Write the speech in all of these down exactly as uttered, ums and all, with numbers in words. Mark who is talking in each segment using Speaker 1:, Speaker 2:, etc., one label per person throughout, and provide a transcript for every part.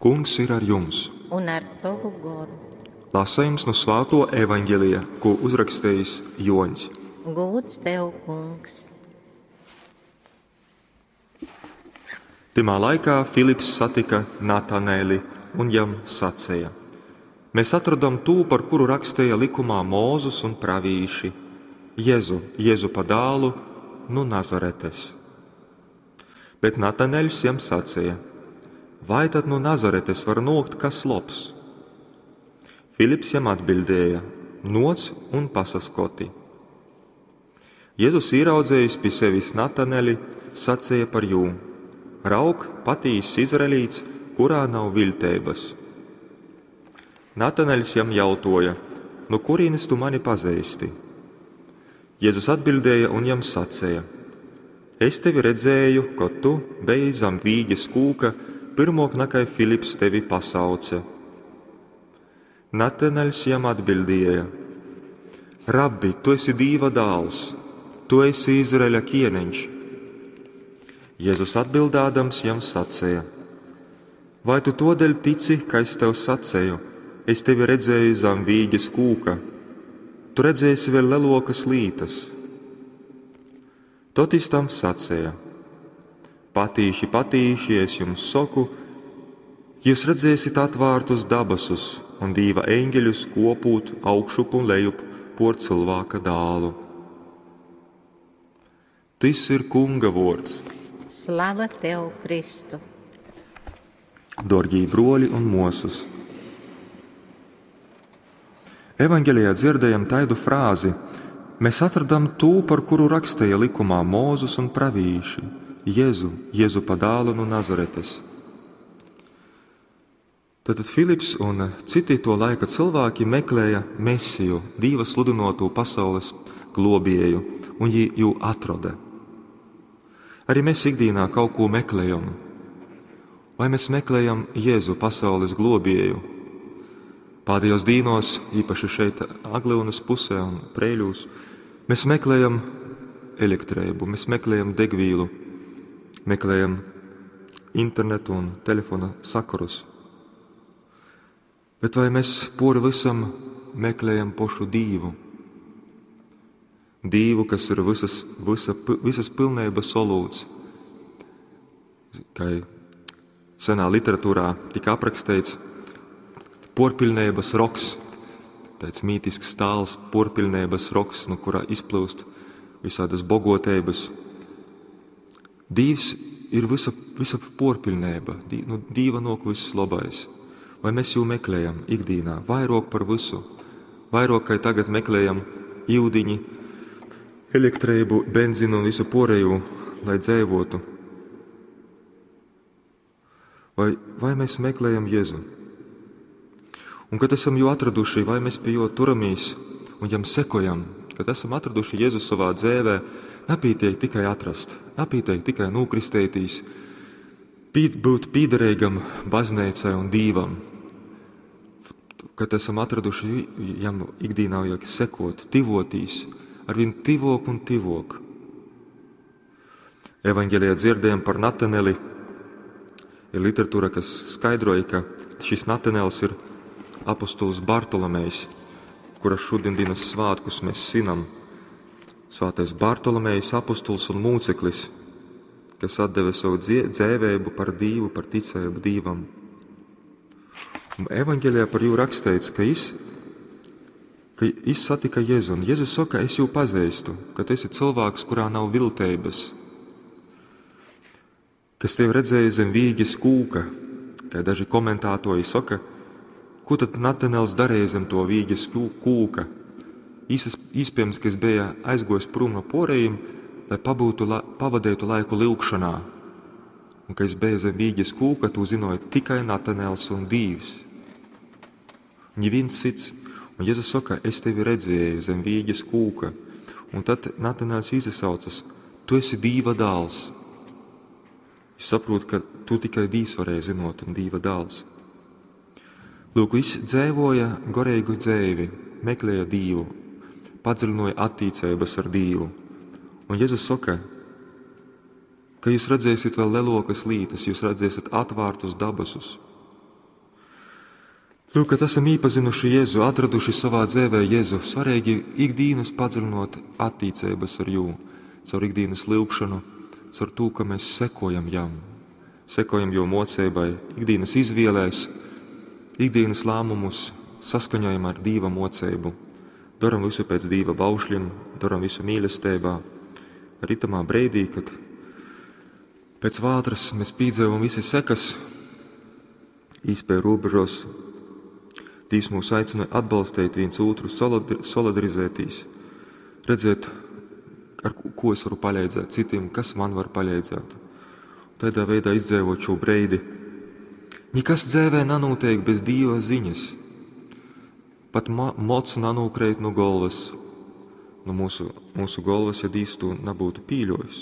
Speaker 1: Kungs ir ar jums!
Speaker 2: Un ar tovu goru.
Speaker 1: Lasījums no Svāto Evaņģelija, ko uzrakstījis Joņs.
Speaker 2: Gūds tev, kungs!
Speaker 1: Tymā laikā Filips satika Nataneli un jam sacīja: Mēs atradām tū, par kuru rakstīja likumā Mūzus un pravīši, Jēzu, Jēzupa dālu nu Nazaretes. Bet Nataneļs jam sacīja: Vai tad no Nazaretes var nokt kas lobs? Filips jam atbildēja: Noc un pasaskoti. Jēzus ieraudzējis pie sevis Nataneli, sacīja par jū: Raug, patīss izraelīts, kurā nav viltības. Nataneļs jam jautoja: No kurienes tu mani pazīsti? Jēzus atbildēja un jam sacīja: Es tevi redzēju, kad tu biji zem vīģes kūka, pirmok nakai Filips tevi pasauca. Nataneļs jam atbildēja: Rabbi, tu esi Dīva dāls, tu esi Izraeļa ķieniņš. Jēzus atbildādams jam sacīja: Vai tu todēļ tici, ka es tev sacīju, es tevi redzēju zem vīģes kūka, tu redzēsi vēl lelokas lītas. Tot jis tam sacīja: Patīši, patīši, es jums saku, jūs redzēsiet atvārtus dabasus un Dīva eņģeļus kopūt augšup un lejup por cilvēka dālu. Tis ir Kunga vords.
Speaker 2: Slava tev, Kristu!
Speaker 1: Dorgī broļi un mosas! Evaņģelijā dzirdējam taidu frāzi: Mēs atradam tū, par kuru rakstīja likumā Mūzus un pravīši, Jēzu, Jēzupa dālu no Nazaretes. Tātad Filips un citi to laika cilvēki meklēja Mesiju, Dīva sludinoto pasaules globēju, un viņi jū atrada. Arī mēs ikdienā kaut ko meklējam. Vai mēs meklējam Jēzu, pasaules globēju? Pēdējos dīnos, īpaši šeit Aglyunas pusē un Prēļūs, mēs meklējam elektrību, mēs meklējam degvīlu, meklējam internetu un telefona sakarus. Bet vai mēs pori visam meklējam pošu Dīvu? Dīvu, kas ir visas, visa, visas pilnības solūts. Kā senā literatūrā tika aprakstīts, porpilnības roks, tāds mītisks stāls, porpilnības roks, no kura izplūst visādas bogotības. Dīvs ir visa, visa porpilnība, nu, Dīva nok viss labais. Vai mēs jū meklējam ikdienā vairāk par visu? Vairāk, kā tagad meklējam īudiņi, elektrību, benzinu un visu porēju, lai dzēvotu. Vai, vai mēs meklējam Jēzu? Un, kad esam jū atraduši, vai mēs pie jo turamies un jam sekojam, kad esam atraduši Jēzu savā dzēvē, napītiek tikai atrast, napītiek tikai nūkristētīs, pī, būt pīderīgam baznīcai un Dīvam. Kad esam atraduši jam ikdienā vajag sekot, tivotīs, arvien tivok un tivok. Evaņģelijā dzirdējam par Nataneli. Ir literatūra, kas skaidroja, ka šis Natanels ir apostols Bartolomejs, kura šodienas svētkus mēs svinam. Svētais Bartolomejs, apostols un mūceklis, kas atdeva savu dzēvēbu par Dīvu, par ticēbu Dīvam. Un evaņģelijā par jū rakstīts, ka jis, ka jis satika Jēzu, un Jēzus saka, es jū pazīstu, ka tu esi cilvēks, kurā nav viltības, kas tevi redzēja zem vīģes kūka, kā daži komentātori saka, ko tad Natanels darīja zem to vīģes kūka? Īsas, iespējams, ka es bija aizgojis prom no porējiem, lai pabūtu, la, pavadītu laiku lūgšanā. Un ka es biju zem vīģes kūka, to zināja tikai Natanels un Dīvs. Neviens cits. Un Jēzus saka, es tevi redzēju zem vīģes kūka. Un tad Natanels izsaucas, tu esi Dīva dāls. Es saprotu, ka tu tikai Dīvs varēja zinot un Dīva dāls. Lūk, viņš dzēvoja gorīgu dzēvi, meklēja Dīvu, padziļināja attiecības ar Dīvu. Un Jēzus saka, ka jūs redzēsiet vēl lelokas lītas, jūs redzēsiet atvārtus dabasus. Lūk, kad esam īpazinuši Jēzu, atraduši savā dzīvē Jēzu, svarīgi ikdienas padziļinot attiecības ar Jū, caur ikdienas lūgšanu, caur to, ka mēs sekojam Jam, sekojam Jo mocībai, ikdienas izvēlēs, ikdienas lēmumus saskaņojam ar Dīva mocību, daram visu pēc Dīva baušļiem, daram visu mīlestībā. Arī tamā breidī, kad pēc vātras mēs pīdzīvam visi sekas, īspēju robežos, Dīvs mūs aicina atbalstīt viens otru, solidarizēties, redzēt, ar ko es varu palīdzēt citiem, kas man var palīdzēt. Tādā veidā izdzīvot šo breidi. Nekas dzīvē nenotiek bez Dieva ziņas. Pat mots nanūkreit no galvas, no mūsu, mūsu galvas, ja Dievs to nebūtu pīļojis.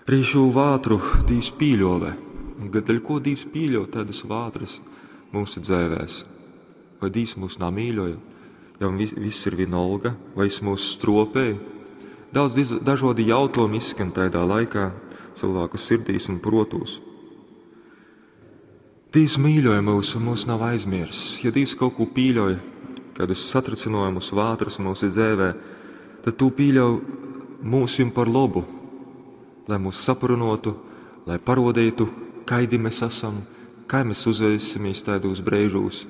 Speaker 1: Arī šo vātru Dievs pīļove. Un dēļ ko Dievs pīļo tādas vātras mūsu dzīvēs? Vai Dievs mūs namīļoja? Ja vis, viss ir vienalga, vai es mūs stropēju? Daudz dažādi jautājumi izskan tādā laikā cilvēku sirdīs un protos. Dievs mīļoja mūs un mūs nav aizmirsis. Ja Dievs kaut ko pīļoja, kādus satricinājumus, vātras mūsu dzīvē, tad tu pīļauj mūsim par labu, lai mūs saprunotu, lai parodītu, kaidi mēs esam, kā mēs uzveisimies tādos brīžos.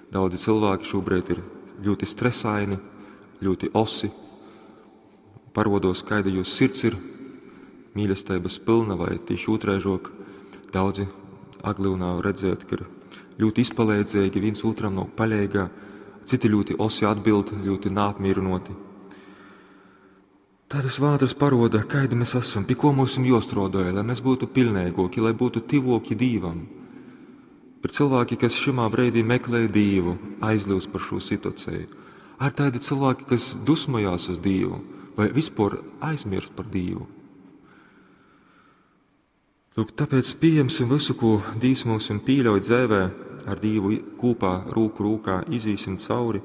Speaker 1: Daudzi cilvēki šobrīd ir ļoti stresaini, ļoti osi. Parodos, kāda jūsu sirds ir, mīlestības pilna vai tieši otraižok. Daudzi Aglūnā redzēt, ka ir ļoti izpalīdzīgi, viens otram nav paļīgā, citi ļoti osi atbild, ļoti neapmierinoti. Tādas vātras paroda, kādi mēs esam, pie ko mums jostrodoja, lai mēs būtu pilnīgoki, lai būtu tivoki Dīvam. Ir cilvēki, kas šimā brīdī meklē Dievu, aizļūst par šo situāciju. Ar tādi cilvēki, kas dusmojās uz Dievu vai vispār aizmirst par Dievu. Lūk, tāpēc pieņemsim visu, ko Dievs mums pīļauj dzīvē, ar Dievu kopā, rūku rūkā, izīsim cauri,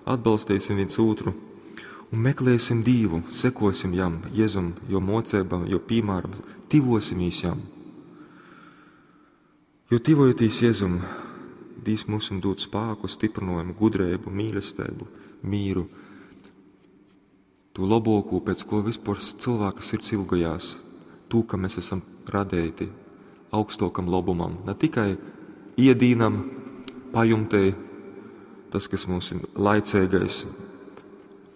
Speaker 1: atbalstīsim viens otru un meklēsim Dievu, sekosim jam, Jēzum, jo mocībam, jo piemēram, tivosimies jam. Jo tivojotīs Jēzum, Dievs mums dod spēku, stiprinājumu, gudrību, mīlestību, mīru, to labāko, pēc ko vispār cilvēka sirds ilgojās, to, ka mēs esam radīti augstākam labumam, ne tikai iedīnam, pajumtei, tas, kas mums ir laicīgais,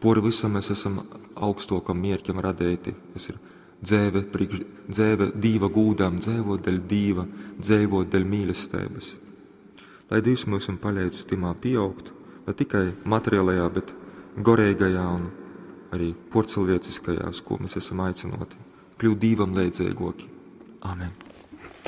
Speaker 1: pori visam mēs esam augstākam mierķam radīti, kas ir dzēve, priekš, dzēve Dīva gūdām, dzēvot dēļ Dīva, dzēvot dēļ mīlestības. Lai Dievs mums palīdz timā pieaugt, ne tikai materiālajā, bet gorīgajā un arī porcelvieciskajā, uz ko mēs esam aicinoti, kļūt Dīvam leidzīgoki. Amen.